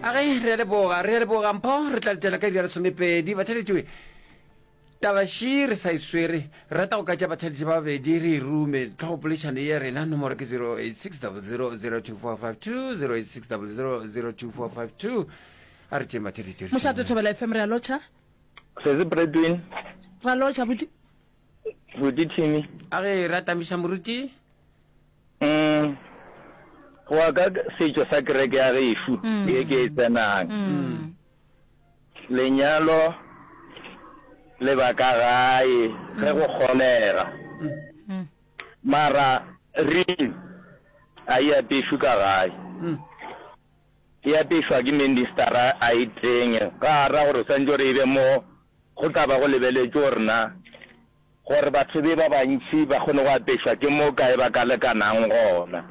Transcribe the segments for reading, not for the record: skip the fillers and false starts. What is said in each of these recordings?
A ge re a leboga, re a leboga Mpho, re tla letela ka iri ya lesomepedi. Batheeletši, taba ši re sa e swere, re rata go ka tša batheeletši ba babedi re e rume. Tlhogopoledišano ye ya rena, nomoro ke 086 00 02452, 086 00 02452. A re tšeeng batheeletši re Mošate Thobela FM re a lotšha. Sesi Bradwin. Ra lotšha buti. Buti Timmy. A ge re atamiša moruti. Mm. Go ya ka setšo sa kereke ya gešo ye ke e tsenang, lenyalo le ba ka gae ge go kgonega. Mara ring a e apešwe ka gae. E apešwa ke ministara a e tsenye. Ga a ra gore o swanetše gore e be mo go tla ba go lebeletšwe gore na Gore batho be ba bantši ba kgone go apešwa ke mo kae ba ka lekanang gona.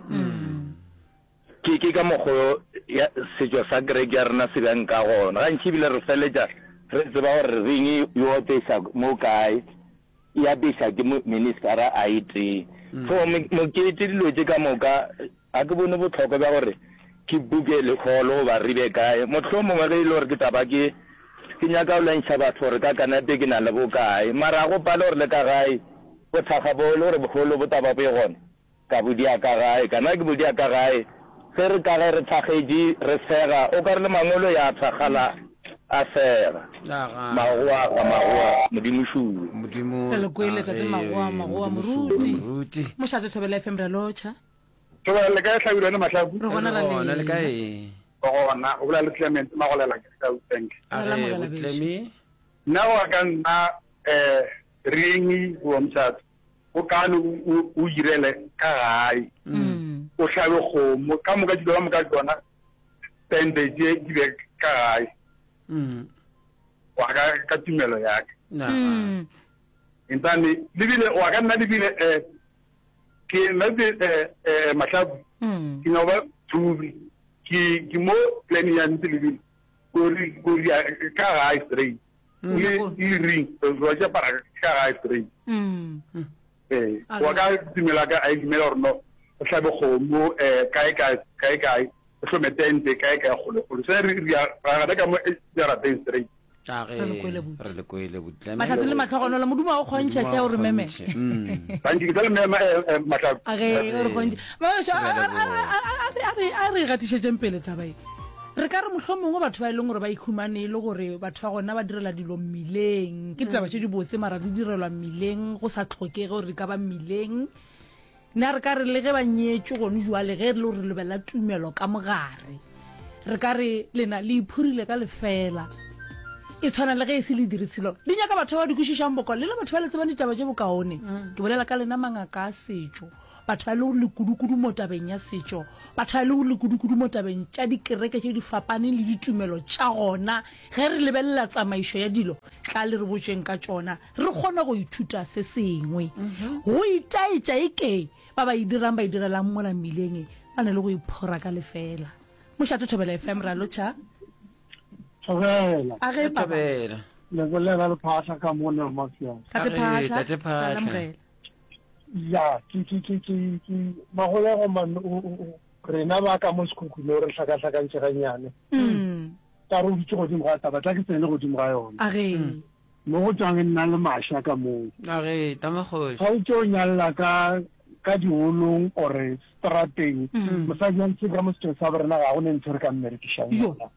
Ke, ke ka mokgo ya, setšo sa kereke ya rena se bjang ka gona. Gantši ebile re feletša re tseba gore ring yo apeša mo kae, e apeša ke mo, ministara a e tee. So, mokete, dilo tše ka moka, Ga ke bone bohlokwa bja gore ke buke leholo goba re be kae. Mohlomongwe ge e le gore ke tla ba ke ke nyaka go lwantšha batho gore ka kanepe ke na le bokae. Mara ga go pale gore le ka gae bothakga bo e le gore boholo bo tla ba bo e gona, ka bo dia ka gae. Kana ke bo dia ka gae ge re ka ge re thakgetše re sega o ka re le mangolo ya thakgala a sega. Magoa ga magoa Modimo šuwe. Modimo Re le kwele a tate ge Magoa Magoa Modimo šuwe Moruti. Moruti. Mošate Thobela FM re a lotšha. Thobela le kae Hlabirwa le Mahlaku? Re gona Re ra gona le lena. kae? Re gona. O bolela le Clement Magolela ke ka Witbank. A Ra re lamogela bo bešo. Clemmy. Nna go ya ka nna eh ring goba mošato go kaone o o irele ka gae. O hlabe kgomo ka moka dilo ka moka tšona tente tše di be ka gae. Go ya ka ka tumelo ya ka. Naga. Entane le bile go ya ka nna le bile eh Ke nna ke eh, eh, Mahlaku Mm. ke nyaka ba thubi ke ke mo plan ya ntse le bile kori kori ya ka gae straight Mm. le le ring wa ja para ka gae straight Mm. eh A wa ka dumela ka a dumela gore no o hlabe kgomo eh kae kae kae kae o hlome tente kae kae kgole kgole se re re ya ra gana ka mo jarateng straight A ge Re le kwele buti. re le kwele buti. Mahlatse le mahlogonolo Modimo a o kgontšhe hle o re meme. Mm. Thank you ke tla le mema eh, eh, Mahlaku. A ge o re kgontšhe. Mamašo, a- Re a a- leboga. a- a- a- a re a re gatišetšeng pele taba e. Re ka re mohlomongwe batho ba e leng gore ba ikhumane e le gore batho ba gona ba direla dilo mmileng. Ke ditaba tše dibotse mara di direlwa mmileng go sa tlhokege gore di ka ba mmileng. Na re ka re le ge ba nyetšwe gone jwale, ge re le gore re lebelela tumelo ka mogare, re ka re lena le iphurile ka lefeela? E tshwana le ge e se le dire selo. Di nyaka batho ba ba di kwešišang bokaone, lena batho ba le tsebang ditaba tše bokaone. Ke bolela ka lena mangaka a setšo, batho ba e le gore le kudu-kudu mo tabeng ya setšo, batho ba e le gore le kudu-kudu mo tabeng tša dikereke tše di fapaneng le ditumelo tša gona. Ge re lebelela tsamaišo ya dilo, tla le re botšeng ka tšona. Re kgone go ithuta se sengwe. Go itaetša eke ba ba e dirang ba e direlang mola mmileng ba na le go iphora ka lefeela. Mošate Thobela FM, ra lotšha. Thobela. A ge papa. Thobela. Le bolela le Phahla ka mo ne Mafia. Tate A ge, Phahla. Tate Ra Phahla. lamogela. Ya, ke ke ke ke ke magolego man o o o rena ba ka mo Sekhukhune o re hlakahlakantše gannyane. Mm. Ka re o dutše godimo ga taba, tla ke tsene godimo ga yona. A ge. Mo go tšwang nna le Masha ka moo. A re, Tama kgoši. Ga o tšo nyalla ka ka diholong or strateng, mosadi wa ntshe ka mo setšong sa borena ga go ne ntho re ka mmerekišang yona.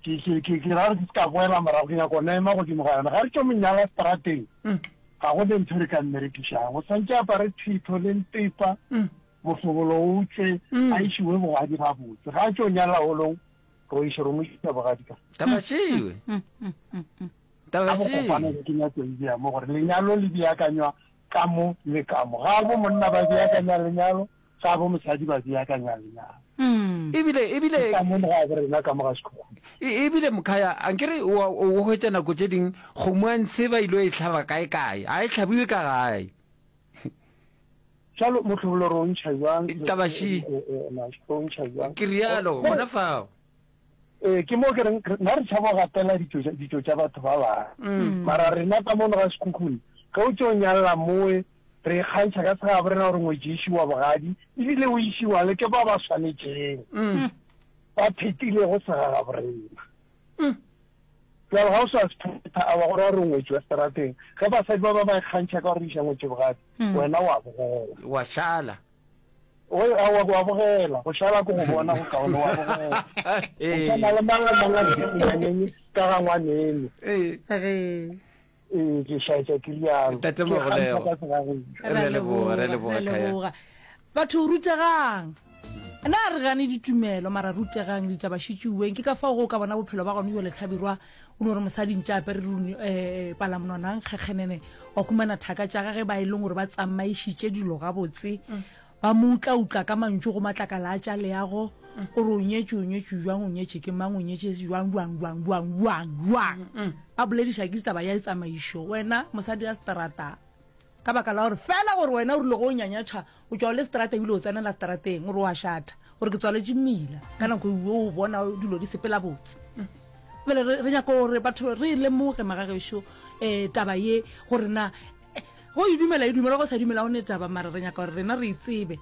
Ke ke ke ke ra gore ke se ka boela morago ke nyaka go ema godimo ga yona. Ga re tšo mo nyala strateng, ga go ne ntho re ka mmerekišang. O swantše apare thitho le ntepa, mohlobolo o tšwe, a išiwe bogadi gabotse. Ga a tšo nyala holong, Ro iše ro mo iša bogadi ka. Taba šewe. Taba Ka bokopana šewe. ke nyako e bea mo gore lenyalo le beakanywa ka mo le ka mo. Ga bo monna ba beakanya lenyalo, ga bo mosadi ba beakanya lenyalo. Ebile, ebile. Ke ka mo le ga bo rena ka mo ga Sekhukhune. E, ebile mokhaya, ankere o, o hwetša nako tše ding kgomo ya ntshe ba ilo e hlaba kae kae, ga e hlabiwe ka gae. Bjalo mohlobolo re o ntšha bjang? Taba še. Re o ntšha bjang? Ke realo, gona fao. Ee, ke mo ke reng, nna re tšhaba go gatela ditšo tša batho ba bangwe. Mara rena ka mono ga Sekhukhune, ge o tšo nyalla mowe, re ikgantšha ka segabo rena gore ngwetši e išiwa bogadi, ebile o išiwa le ke ba ba swanetšeng. Ba phetilego segagaborena. Bjale ga o sa se phetha, a wa go ra gore o ngwetši wa seterateng. Ge basadi ba ba ba ikgantšha ka go re iša ngwetši bogadi, wena wa bogela. Wa šala. O, aowa, wa bogela. Go šala ke go bona go kaone, wa bogela. O swana le mang le mang a dutše ka ga ngwaneno. Ee. Ee, ke šaetša ke rialo. Ntate Ke Magolego. kgantšha ka segagešo. Re a leboga, re a leboga, Re a Khaya. leboga. Batho rutegang. Na re gane ditumelo mara rutegang ditaba šitšiweng. Ke ka fao go ka bona bophelo ba gone bjale Hlabirwa o no re mosadi ntše apere rune eh, palamonwana nkgekgenene wa humana thaka tša gage ba e leng gore ba tsamaišitše dilo gabotse Ba mo utlautla ka mantšu go matlakala a tša leago, o re o nyetše, o nyetše bjang, o nyetše ke mang, o nyetše bjang, bjang, bjang, bjang, bjang, bjang. Ba bolediša ke ditaba ya tsamaišo. Wena, mosadi wa seterata, ka baka la gore fela gore wena o rile go o nyanyatšha, o tšwa o le seterata ebile o tsenela seterateng, o re o a šatha, o re ke tswaletše mmila, ka nako e o bona dilo di sepela botse. Bjale re, re nyaka gore batho re lemoge magagešo um taba ye gore na Go e dumela e dumela, go sa dumela go ne taba, mara re nyaka gore rena re e tsebe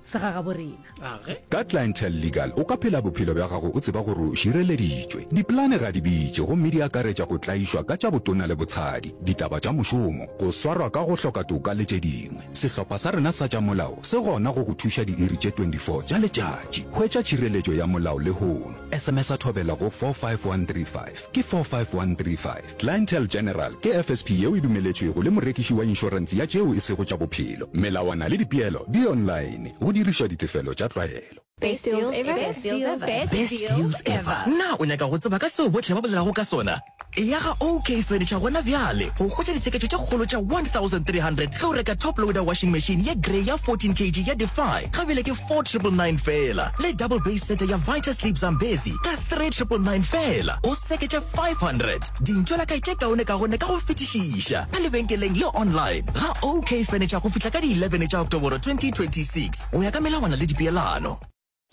segagabo rena. Ka Clientele Legal o ka phela bophelo bja gago o tseba gore o šireleditšwe. Dipolane ga di bitše gomme di akaretša go tlaišwa ka tša botona le botshadi, ditaba tša mošomo, go swarwa ka go hloka toka le tše dingwe. Sehlopha sa rena sa tša molao se gona go go thuša diiri tše 24 tša letšatši. Hwetša tšhireletšo ya molao lehono. SMS-a Thobela go 45135. Ke 45135. Clientele General ke FSP yeo e dumeletšwego le morekiši wa inšorense ya tšeo e sego tša bophelo. Melawana le dipeelo di online, go dirišwa ditefelo tša tlwaelo. Best deals ever. Best deals ever. Best deals ever. Na o nyaka go tseba ka seo bohle ba bolelago ka sona? Eya ga OK Furniture gona bjale go hwetša ditsheketšo tše kgolo tša 1300 ge o reka top loader washing machine ye grey ya 14 kg ya Defy ga bjale ke 4999 feela le double base sete ya Vita Sleep Zambezi ka 3999 feela. O seketše 500 dintšwelakae tše kaonekaone ka go fetišiša ka lebenkeleng le online ga OK Furniture go fihla ka di 11 tša Oktoboro 2026 go ya ka melawana le dipeelano.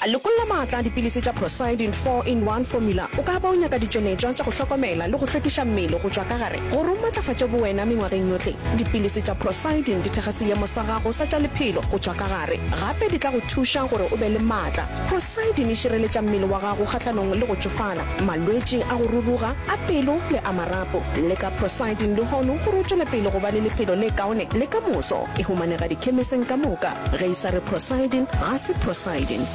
Lokolla maatla a dipilisi tša Procyldin 4-in-1 Formula. O ka ba o nyaka ditšweletšwa tša go hlokomela le go hlwekiša mmele go tšwa ka gare gore o matlafatše bowena mengwageng yohle. Dipilisi tša Procyldin di thekga seemo sa gago sa tša lephelo go tšwa ka gare. Gape di tla go thuša gore o be le maatla. Procyldin e šireletša mmele wa gago kgahlanong le go tšofala, malwetši a go ruruga, a pelo le a marapo. Leka Procyldin lehono gore o tšwele pele go ba le lephelo le kaone le ka moso. E humanega dikhemiseng ka moka. Ge e sa re Procyldin, ga se Procyldin.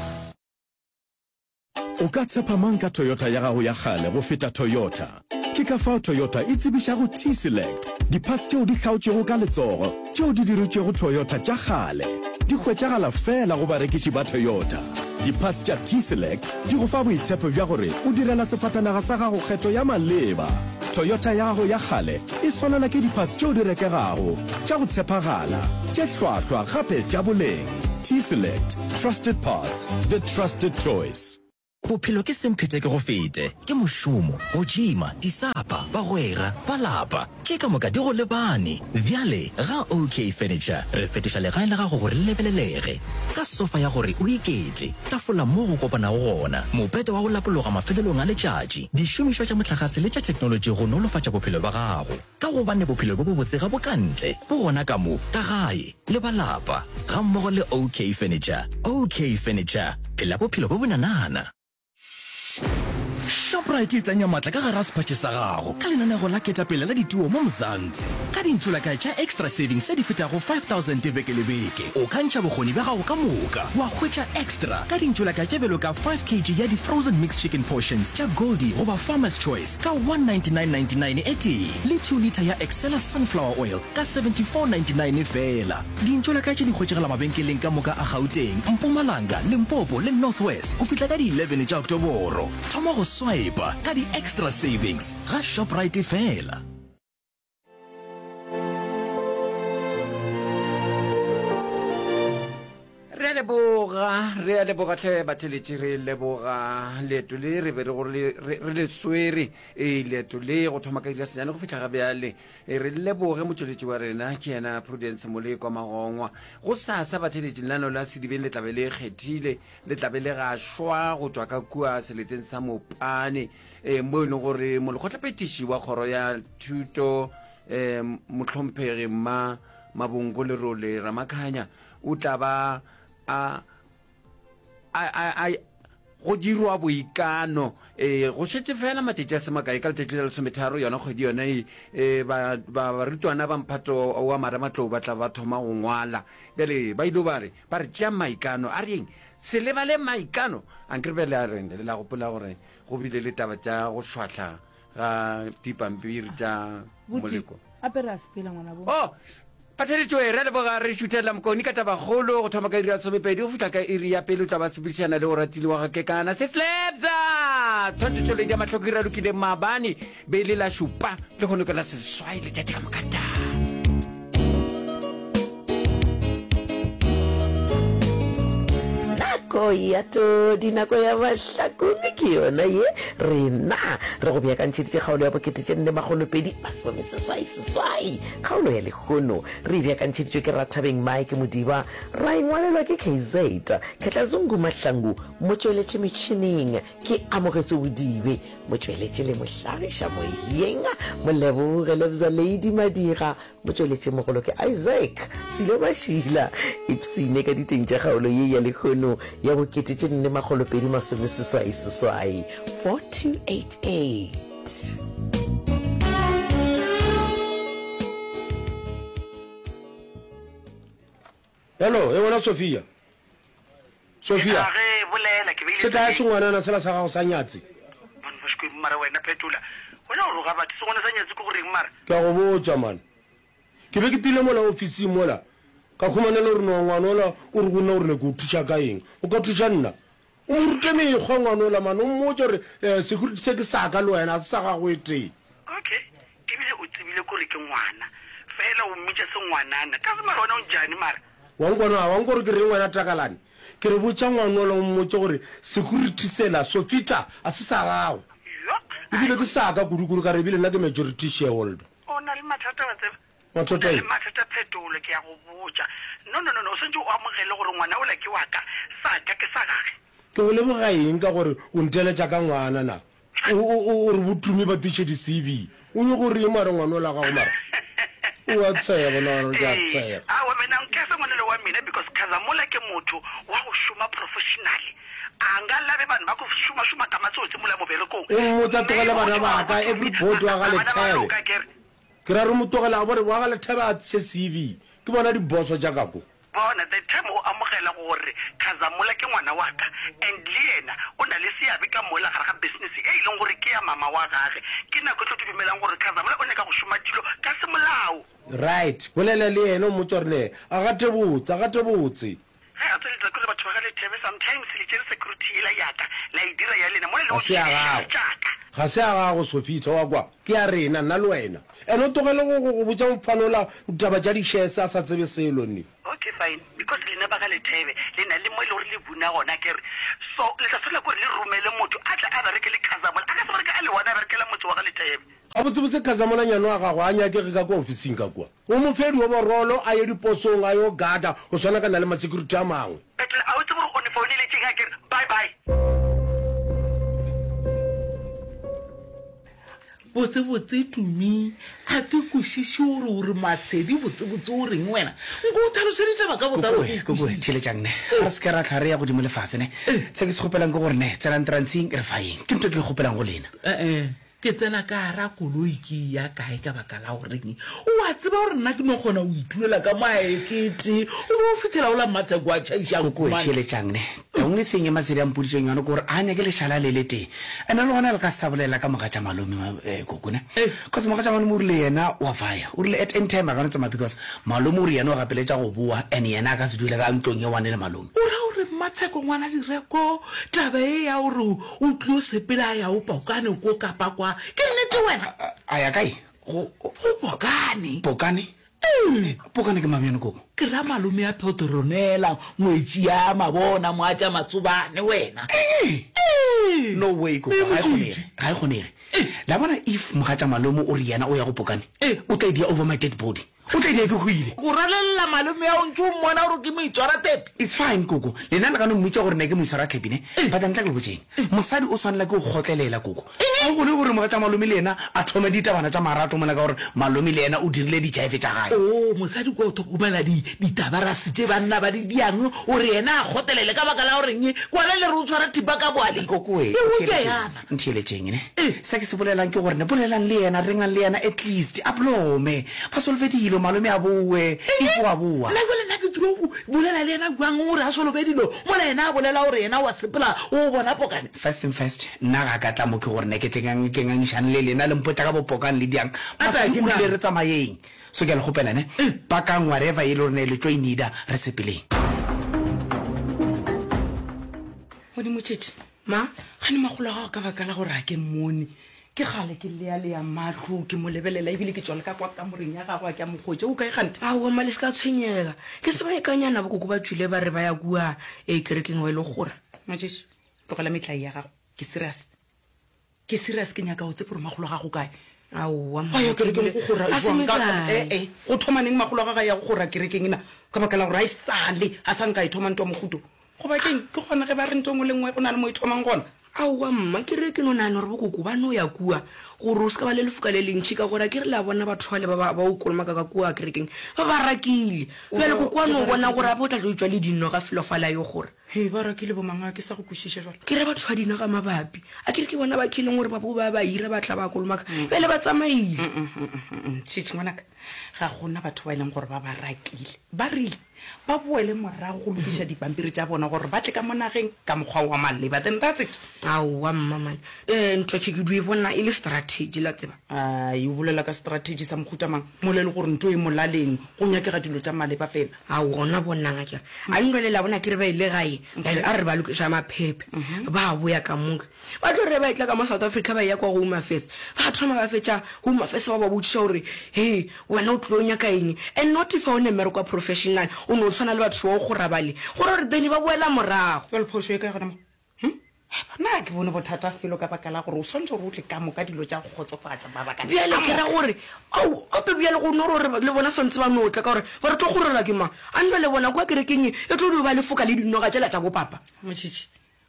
O ka tshepa mang ka Toyota ya gago ya kgale go feta Toyota? Ke ka fao Toyota e tsebišago T-Select, di-parts tšeo di hlaotšwego ka letsogo tšeo di diretšwego Toyota tša kgale. Di hwetšagala feela go barekiši ba Toyota. Di-parts tša T-Select di go fa boitshepo bja gore o direla sefatanaga sa gago kgetho ya maleba. Toyota ya gago ya kgale e swanelwa ke di-parts tšeo di rekegago, tša go tshepagala, tše hlwahlwa gape tša boleng. T-Select, trusted parts, the trusted choice. Bophelo ke semphete ke go fete, ke mošomo, go tšima, disapa, bagwera, ba lapa, tše ka moka di go lebane. Bjale ga OK Furniture re fetoša legae la gago gore le lebelelege. Ka sofa ya gore o iketle, tafola mo go kopanago gona, mopete wa go lapologa mafelelong a letšatši, dišomišwa tša mohlagase le tša theknolotši go nolofatša bophelo bja gago. Ka gobane bophelo bjo bobotse ga bo ka ntle, bo gona ka mo, ka gae, le ba lapa, gammogo le OK Furniture. OK Furniture, phela bophelo bjo bonanana. Shoprite e tsenya matla ka gare ga sephatše sa gago ka lenanego la ketapele la dituo mo Mzansi. Ka dintšolakae tša Extra Savings tše di fetago 5000 beke le beke, o ka ntšha bokgoni bja gago ka moka wa hwetša extra ka dintšolakae tše bjalo ka 5 kg ya di-frozen mixed chicken portions tša Goldie goba Farmer's Choice ka 199.99 e tee le 2 litre ya Excella sunflower oil ka 74.99 feela. Dintšolakae tše di hwetšagala mabenkeleng ka moka a Gauteng, Mpumalanga, Limpopo le North West go fihla ka di 11 tša Oktoboro. Thoma go swipa ka di-extra savings ga Shoprite feela. Re a leboga, re a leboga hle batheletši, re leboga leeto le re be re gore re le swere, ee leeto le go thoma ka iri ya senyane go fihla ga bjale. E re leboge motšweletši wa rena, ke yena Prudence Molekwa Magongwa. Go sasa batheletši lenaneo la Sedibeng le tlabe le kgethile, le tlabe le gašwa go tšwa ka kua seleteng sa Mopane, e mo e leng gore molekgotlaphethiši wa kgoro ya thuto e mohlomphegi Mma Mabongo Lerole Ramakhanya o tla ba a a a a. Go dirwa boikano. Ee, go šetše feela matšatši a se makae, ka letšatši la lesometharo yona kgwedi yona ye, ee, ba, ba, barutwana ba mphato wa marematlou ba tla ba thoma go ngwala. Bjale ba ile ba re, ba re, Tšeang maikano. A re eng? Se lebale maikano. Ankere bjale a re, le la gopola gore go bile le taba tša go šwahla ga dipampiri tša moleko. Gape re a sepela ngwanabo. Oh! Batheletšoe, re a leboga re šuthela Mokoni ka tabakgolo go thoma ka iri ya somepedi go fihla ka iri ya pele o tla ba sepedišana le Oratile wa ga Kekana. Se Slebza! Tshwantšhetšo ledi ya mahloko e ralokile maabane be e le la šupa lehono ke la seswai letšatši ka moka taa. Nako ya todi, nako ya mahlakong ke yona ye. Rena re go beakantšheditše kgaolo ya bokete tše nne makgolopedi masomeseswai seswai. Kgaolo ya lehono re e beakantšheditšwe ke Rathabeng Mike Modiba, ra e ngwalelwa ke KZ Khetlazungu Mahlangu, motšweletši metšhineng ke Amogetswe Bodibe, motšweletši le mohlagiša moyeng Moleboge Lebza Lady Madira, Motšweletšimogolo ke Isaac Silo Mašila. Ipshine ka diteng tša kgaolo ye ya lehono ya bokete tše nne makgolopedi masomeseswai seswai, 4288. Hello, e wena Sophia. Sophia. Ge bolela ke beile Se kae sengwanana sela sa gago sa nyatsi? Man Moškweng mara wena phetola. Wena o roga batho sengwana sa nyatsi ke go reng mara? Ke a go botša man. Ke be ke tile mola ofising mola ka khumana le gore no ngwana ola o re go nna o re ne ke o thuša ka eng. O ka thuša nna? O mo rute mekgwa ngwana ola man o mmotše gore eh, security se ke sa ka le wena ga se sa gago e tee. Okay, ebile o tsebile kore ke ngwana. Fela o mmitša sengwanana. Ka se mara wena o njani mara? Wa nkwa na? Wa nkwa gore ke reng wena Takalane? Ke re botša ngwanola o mmotše gore security sela, Sofita, a se sa gago. Ebile ke sa ka kudu-kudu ka re ebile nna ke majority shareholder. O na le mathata wa tseba. Mathata O na le eng? mathata Phetolo, ke a go botša. No, no, no, no, o swanetše o amogele gore ngwana ola ke wa ka, sa ka ke sa gage. Ke go leboga eng ka gore o nteletša ka ngwana na? O, o, o, o re bo Tumi ba tliše di CV. O nyoko reng mara ngwana ola gago mara? O a tshega bona gore ke a Ee, tshega. aowa mina nkese ngwanelo wa mina because Khazamola ke motho wa go šoma professionally. A nga labe vanhu va ku šuma-šuma ka matsotsi mola moberekong. O mmotsa tlogele bana ba ka, every board wa ga Bana ba Lethebe. loka akere. Ke ra re mo tlogele a bore wa ga Lethebe a tliše CV. Ke bona diboso tša ka ko. Bona, the time o amogela gore Khazamola ke ngwana wa ka and le yena o na le seabe ka mola gare ga business e e leng gore ke ya mama wa gage, ke nako e tlo dumelang gore Khazamola o nyaka go šoma dilo ka semolao. Right, bolela le yena o mmotše gore ne a gate botse, a gate botse. Ge a tsweletša ke gore batho ba ga Lethebe sometimes le tšere security yela ya ka la e dira ya lena mola le Ga se ya gago. tša ka. Ga se ya gago Sophita, wa kwa? Ke ya rena, nna le wena. And o tlogele go, go, go botša mofana ola ditaba tša di-shares a sa tsebe selo, nne. Okay fine, because lena ba ga Lethebe le na le mo e le gore le buna gona akere, so le tla swanela ke gore le romele motho a tle a bereke le Khazamola, a ka se bereke a le one a berekela motse wa ga Lethebe. Gabotsebotse Khazamola nyane wa gagwe a nyakege ka kwa ofising ka kua. O mo fe dioborolo a ye diposong a yo gada go swana ka na le masecurity a mangwe. Petrol a o tsebe gore o ne founile tšeng akere bye bye. Botsebotse Tumi, a ke kwešiše gore o re Masedi botsebotse o reng wena? Nko o tlhalose ditaba ka botlalo Kokoe, ke kokoe, kwešiše. theeletšang ne. Re se ke ra hlwa re ya godimo le fase ne. Se ke se kgopelang ke gore ne, tsenang transing re fayeng. Ke ntho e ke e kgopelang go lena. Eh-eh, Ke tsena ka gara koloi ke eya kae ka baka la goreng? O a tseba gore nna ke no kgona go itulela ka mo a ekete o be o fihlela o la Mmatsheko a tšhaiša Koko, nku mane. theeletšang ne. The only thing e Masedi a mpoditšeng yona ke gore a nyake lešala le letee. And-e le gona le ka se sa bolela ka mogatša malome, eh, koko ne. Cause mogatša malome o rile yena wa fire. O rile at any time a ka no tsamaya because malome o re yena o gapeletša go boa and yena a ka se dule ka ntlong ye one le malome. O ra gore Mmatsheko ngwana Direko taba ye ya gore O tlilo sepela a ya o Pokane ko kapa kwa. Ke nnete wena? A ya kae? Go, go Pokane. Pokane? Ee. Pokane ke mang bjane koko? Ke ra malome ya Petronella, ngwetši ya Mabona, moatša Matsobane wena. Ee. Ee. No way koko, ga e kgonege. Ga e kgonege. La bona if mogatša malome o re yena o ya go Pokane, o tla e dia over my dead body. O tla dia ke hwile. O ralelela malome ao ntše o mmona gore ke moitshwarathepi. It's fine koko, lena le ka no mmitša gore ne ke moitshwarathepi ne? But ntla ke le botšeng, mosadi o swanela ke go kgotlelela koko. Ga go kgone gore mogatša malome le yena a thome ditabana tša marato mola ka gore malome le yena o dirile dijaife tša gae. Oo, mosadi kwa o thokomela di, ditabarase tše banna ba di diang gore yena a kgotlelele ka baka la goreng kwana le re o tshwara thipa ka boaleng. Koko we, E o ke yana. Ntheeletšeng ne. Se ke se bolelang ke gore ne bolelang le yena, rengang le yena at least a blome. Ba solve dilo, malome a bowe, if o a bowa. Nna bjale nna ke tlilo go bolela le yena bjang gore a solve dilo mola yena a bolela gore yena o a sepela o bona pokane? First thing first, nna ga ka tla mo ke gore ne ke tle ke ngangišane le lena le mpotša ka bo pokane le diang. Masadi o rile re tsamayeng. So ke a le kgopela ne, pakang whatever e le gore ne le tlo e needa, re sepeleng. Modimo tšhetše. Ma, gane makgolo a gago ka baka la gore a ke mmone. Ke kgale ke lealea mahlo ke mo lebelela ebile ke tšwa le ka kwa kamoreng ya gagwe a ke a mo hwetša. O kae kganthe? Aowa mma le se ka tshwenyega. Ke sebakanyana bokoko ba tšwile ba re ba ya kua e kerekeng ba ile go kgora. Matšetši, tlogela metlae ya gago. Ke serious. Ke serious ke nyaka o tsebe gore makgolo a gago kae. Aowa mma. Ba ya kerekeng go kgora A se jwang ka metlae. eh eh go thoma neng makgolo a gagwe a ya go kgora kerekeng na ka baka la gore a e sale a sa nka e thoma ntwa mohuto. Goba ke'ng? Ke gona ge ba re ntho e nngwe le nngwe go na le mo e thomang gona. Aowa, mma, ke re ke no nagana gore bokoko ba no ya kua gore o se ka ba le lefoka le lentši, ka gore a ke re le a bona batho bale ba ba ba o kolomaka ka kua kerekeng ba ba rakile. Bjale koko a no bona gore gape o tla tlo tšwa le dinoga felo fale a yo gora. Hei, ba rakile bomang? A ke sa go kwešiša bjale. Ke ra batho ba dinoga mabapi. A ke re ke bona ba kileng gore ba bo ba ba hira ba tla ba kolomaka. Bjale ba tsamaile. Tšhitšhi, ngwanaka, ga go na batho ba e leng gore ba ba rakile. Ba rile ba boele morago go lokiša dipampiri tša bona gore ba tle ka mo nageng ka mokgwa wa maleba, then that's it. Aowa mma man, eh, ntwa ke ke dio e bona e le strategy la tseba. Ai, o bolela ka strategy sa mohuta mang mola e le gore nto e molaleng, go nyakega dilo tša maleba fela. Ao, gona bonang akere, a ntwa le la bona akere ba ile gae, bjale a re ba lokiša maphephe, ba boya ka moka. Ba tlo re ba etla ka mo South Africa ba eya kwa Home Affairs, ba thoma ba fetša Home Affairs ba ba botšiša gore, Hei, wena o tlilo nyaka eng? And not if o ne mmereko wa professional, o no tshwana le batho ba go kgora bale. Go ra gore then ba boela morago. Bjale phošo e kae gona mo? Hm? Nna ga ke bone bothata felo ka baka la gore o swanetše gore o tle ka moka dilo tša go kgotsofatša mabaka Bjale ka ke ra moka. gore, ao, gape bjale go no re gore le bona swantse ba no tla ka gore ba re tlo kgorelwa ke mang? A nna le bona kwa kerekeng e, e tlo dio ba lefoka le dinoga tšela tša bopapa. Motšhitšhi,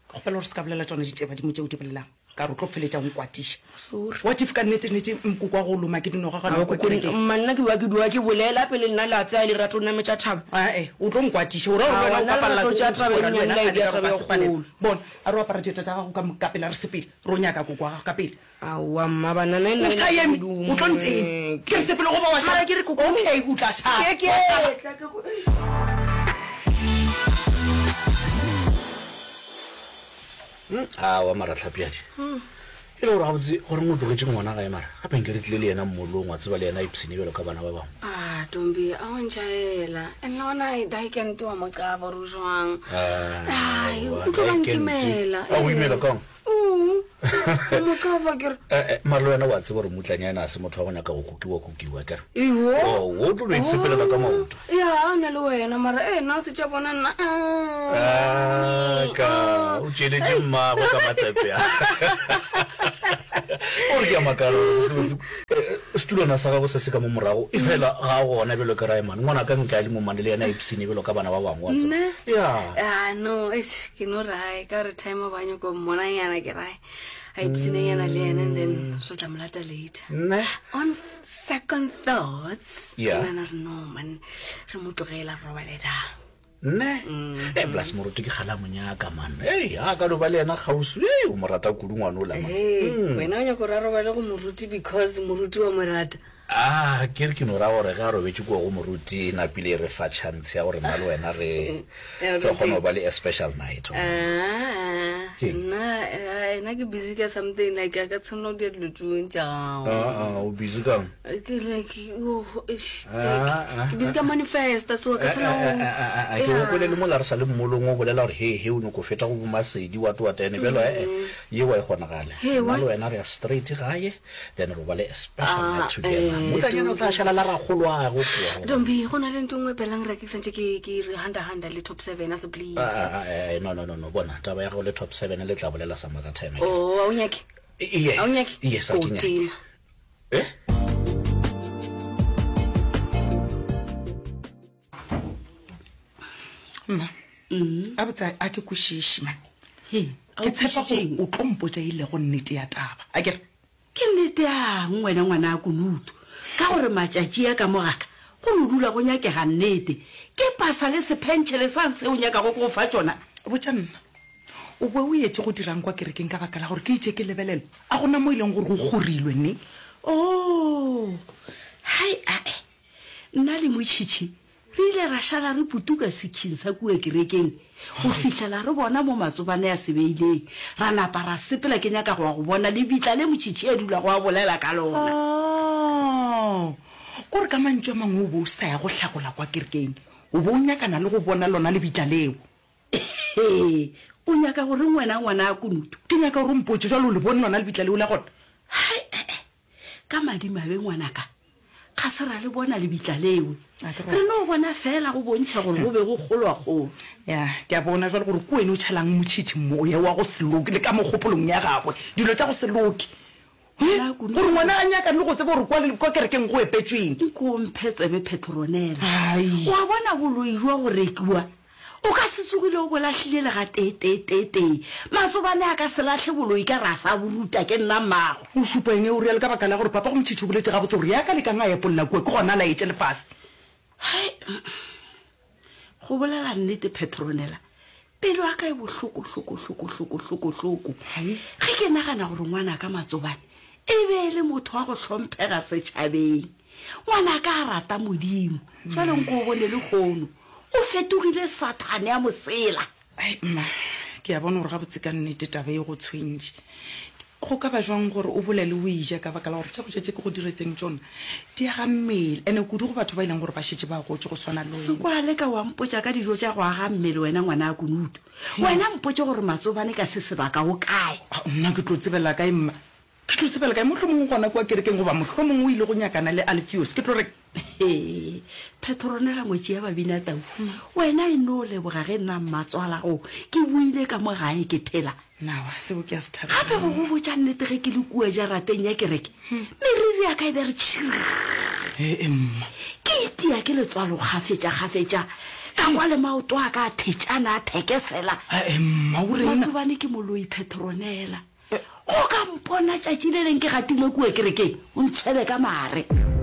Ke kgopela gore se ka bolela tšona ditšebadimo tše o di bolelang, ka re o tlo feletša o nkwatiša. Sorry. What if ka nnete-nnete nkoko wa go loma ke dinoga gona kwa kerekeng? Mma, nna ke ba ke dula ke bolela pele nna le a tsaya lerato o nametša thaba. Ae, o tlo nkwatiša. O ra gore le wena o Aowa, nna ka palela lerato ke tša go taba e nkhora le nnyane wena la e kgale bea ka gore taba ba e se palelwe. kgolo. Bona, a re o apara dieta tša gago ka ka pela re sepele, re o nyaka koko wa gago ka pele. Aowa, mma, banana e nna O e sa na eme, ke o tlo ntena. Ke re sepele goba wa šala. Mara ke re koko. Okay, o tla šala. Ke ke Wa šala. tla ke go. Aowa mara Tlhapjadi. E le gore gabotse goreng o tlogetše ngwana gae mara? Gape nke re tlile le yena mmolong wa tseba le yena a ipshine bjalo ka bana ba bangwe. Ah, Tombi, a o ntšhaela. And le gona Daikente wa mo qaba gore o jwang. Ai, Aowa, o tlo ba Daikente. nkimela. A go imela kang? Oo, o mo qaba ke re. Eh, eh, mara le wena wa tseba gore mmutlanyana a se motho wa go nyaka go kukiwa kukiwa kere. Iwo. Oh, o tlo no itshepelela ka maoto. Ya, a na le wena mara eh nna se tša bona nna. Ah, ka o tšeletše mmagwe ka matsepe a. O re ke a makala gore botsebotse, eh, setulwana sa gago se se ka mo morago e fela ga a gona bjalo ka Raemane. Ngwana ka nka le momane le yena a ipshine bjalo ka bana ba bangwe wa tseba. Nna? Ya. Ah, no, eish, ke no rae ka gore time ba nyako mmonanyana ke rae. A ipshinenyana le yena and then re tla mo lata later. Nne? On second thoughts, ke Yeah. nahana re no man, re mo tlogela re robale da. Nne? Eh, plus moruti ke kgale a mo nyaka man. Ei, a ka no ba le yena kgauswi. Ei, o mo rata kudu ngwana ola man. Hey, Mm. wena o nyaka gore a robale go moruti because moruti wa mo rata. Ah, ke re ke no ra gore ge a robetše kua go moruti e napile e re fa chance ya gore nna le wena re Ya re kgone go moruti. ba le a special night. Ah, Ke? nna eh, nna ke busy ka something like a ka tshwanela go dira dilo tšong tša gago. Ah, ah, o busy kang? Ke like oh, eish, Ah, ah, ke busy ka manifesta so ka Eh, tshwanela eh, go eh, eh, eh, eh, ke Yeah. gopole le mola re sa le mmolong o bolela gore he he o nyoko feta go bomasedi wa toa tene bjalo eh eh yeo a e kgonagale. He, Nna why? le wena re ya straight gae then ro ba le a special Ah, night together. eh, Motlanyana o tla Dombi. šala la rakgoloago kua. Dombi, go na le ntho e nngwe pelang re ke santse ke ke re handa handa le top 7 a se please. Ah, ah, ah, eh, no no no no bona taba ya gago le top 7 le tla bolela some other time. akere. Oh, a o nyake? Yes, A o nyake? yes, ha O ke nyake. tima. Eh? Gabotse a ke kwešiše man. Ke tshepa gore o tlo mpotša e lego nnete ya taba. A ke re? Ke nnete yang wena ngwana Kunutu? Ka gore matšatši a ka mo ga ka go no dula go nyakega nnete. Ke pasa le sephentšhele sang se o nyakago ke go fa tšona? Botša nna, o be o etše go dirang kwa kerekeng ka baka la gore ke itše ke lebelela a go na mo e leng gore go kgorilwe ne? Oo, hai ae, nna le Motšhitšhi Re ile ra šala re putuka sekhing sa kua kerekeng go fihlela re bona mo matsobane a se beileng. Ra napa ra sepela ke nyaka go ya go bona lebitla le Motšhitšhi a dulago a bolela ka lona. Oh, ko re ka mantšu a mangwe o be o sa ya go hlakola kwa kerekeng, o be o nyakana le go bona lona lebitla leo. Ee, o nyaka go reng wena ngwana Kunutu? Ke nyaka gore o mpotše, jwale o le bone lona lebitla leo la gona? Hai, e-e, ka madimabe ngwanaka, Ga se ra le bona lebitla leo. Re no bona feela go bontšha gore go be go kgolwa-kgolo. Ya, ke a bona jwale gore ke wena o tšhelang Motšhitšhi moya wa go se loke le ka mo kgopolong ya gagwe, dilo tša go se loke. He, gore ngwana a nyakane le go tseba gore kwa, kwa kerekeng go epetšweng. Nko o mphe tsebe, Petronella. O a bona boloi bja go rekiwa O ka se tsogile o bo lahlile le gateeteeteetee. Matsobane a ka se lahle boloi ka re a sa bo ruta, ke nna mmago. O šupa eng o realo? Ka baka la gore papago Motšhitšhi o boletše gabotse gore ya ka lekang a epolla kua, ke gona a laetše lefase. Hai, go bolela nnete Petronella, pelo ya ka e bohloko, hloko, hloko, hloko, hloko, hloko. Ge ke nagana gore ngwanaka Matsobane e be e le motho wa go hlomphega setšhabeng. Ngwanaka a rata Modimo, jwale nko o bone lehono o fetogile Sathane a mosela. Ai mma, ke a bona gore gabotse ka nnete taba e go tshwentše. Go ka ba jwang gore o bolele o eja ka baka la gore tša go ja tše ke go diretšeng tšona di aga mmele, ene kudu go batho ba e leng gore ba šetše ba gotše go swana le wena. Se kwa leka wa mpotša ka dijo tša go aga mmele wena ngwana Kunutu. Wena mpotše gore Matsobane ka se sebaka o kae? Nna ke tlo tsebela kae mma? Ke tlo tsebela kae? Mohlomongwe o gona kua kerekeng, goba mohlomongwe o ile go nyakana le Alfios. Ke tlo re. Hee, Petronella ngwetši ya Babinatau, wena e no leboga ge nna mmatswalago ke boile ka mo gae ke phela. Nawa, seo ke a se thabela. Gape go go botša nnete ge ke le kua jarateng ya kereke, meriri ya ka e be re tšhirr. Ee, mma. Ke itia ke letswalo kgafetša-kgafetša, ka kwa le maoto a ka a thetšana a thekesela. Ee, mma, o reng? Matsobane ke moloi, Petronella. Go ka mpona tšatši le leng ke gatile kua kerekeng, o ntshwele ka mare.